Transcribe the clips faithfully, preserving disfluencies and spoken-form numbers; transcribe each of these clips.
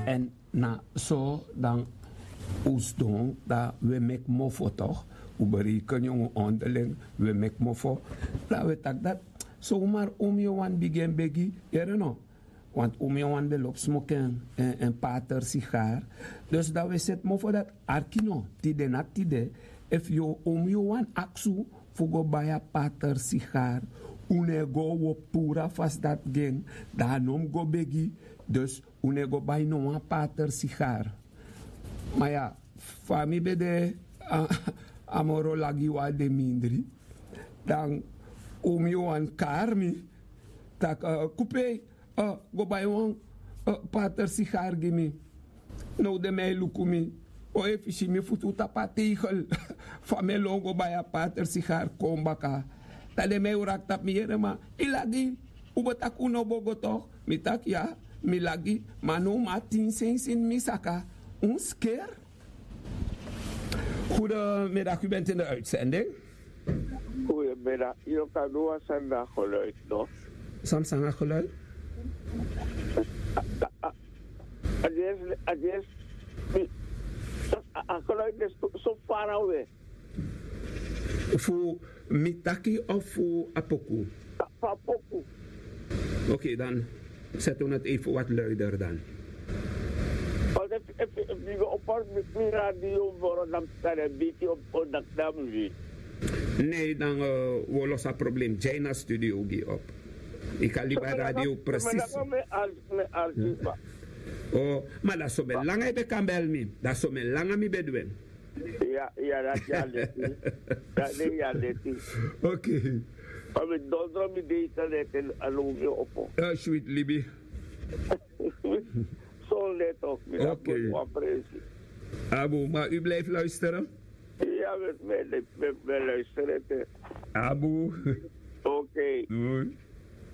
Èn na so dan un sidon dan un e meki mofo tok'. Un bereikeni en un onderling, un e meki mofo. Dan un e taki dati somar un mi o wani bigin en begi. Yere no? Want un mi o wani ben lobi smoki en pater sigar. Dus dan un e seti mofo dati. Arki no, tide na tide, efu yu o un mi o wani aksi un fu go bai a pater sigar, un no e go, un o puru a fasi dati gi en. Dan a no mus go begi. Dus un no e go bai no wan pater sigar. Ma ya, fa mi ben de a moro lagi wan de mindri, dan un mi o wani kari mi taki, kupei, go bai wan pater sigar gi mi. Now den man e luku mi, o efu si mi futu tapu a teigel, fa mi e lon go bai a pater sigar kon baka. Dan den man e wraki tapu mi, yere man, yu lagi, un bo taki un no bo go tok'. Mi taki ya, mi lagi. Ma now mi abi tin sensi ini mi saka. Un sker. Goedemiddag, u bent in de uitzending. Goedemiddag. Yu kan du wan sani na geluid no? San san na geluid? A dies, a dies. A geluid is so far away. Fu mi taki of fu a poku? Fu a poku. Oké, dan zetten we het even wat luider dan. Efu yu go opo mi radio moro dan mi kan e biki op dan mi wi. Nee, dan we lossen het probleem. Jaina studio gi op. Ik kan liba radio precies. Oh, maar dat zo ben lang hij kan bel me. Dat zo ben lang mi bedwin. Ya, ya, dati ya leti. Dati ya leti. Oké. Ma mi dondro mi de ita leti anu mi opo. Switi libi. Son leti of mi dati wan presi. Abu, maar u blijft luisteren? Ya, mi luisteren. Abu. Oké.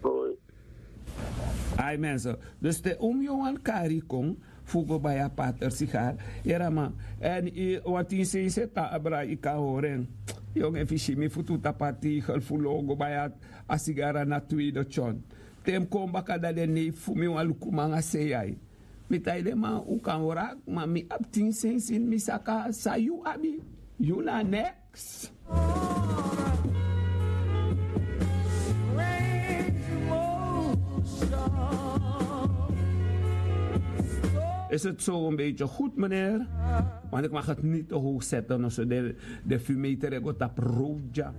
Doei. Ai mensen, dus te un mi o wani kari yu kon fu go bai a pater sigar. Yere man. Èn wan tin sensi e tan abra, yu kan hori en. Yongu, efu yu si mi futu tapu a teigel fu lon go bai a sigar na tweede tyon. Te mi kon baka dan den neifi fu mi wan luku mi nanga sei ai. Mi taigi den man un kan wraki, ma mi abi tin sensi ini mi saka. San yu abi? Yu na neks. Is het zo een beetje goed, meneer? Want ik mag het niet te hoog zetten, also de, de fumeter e go tapu roja.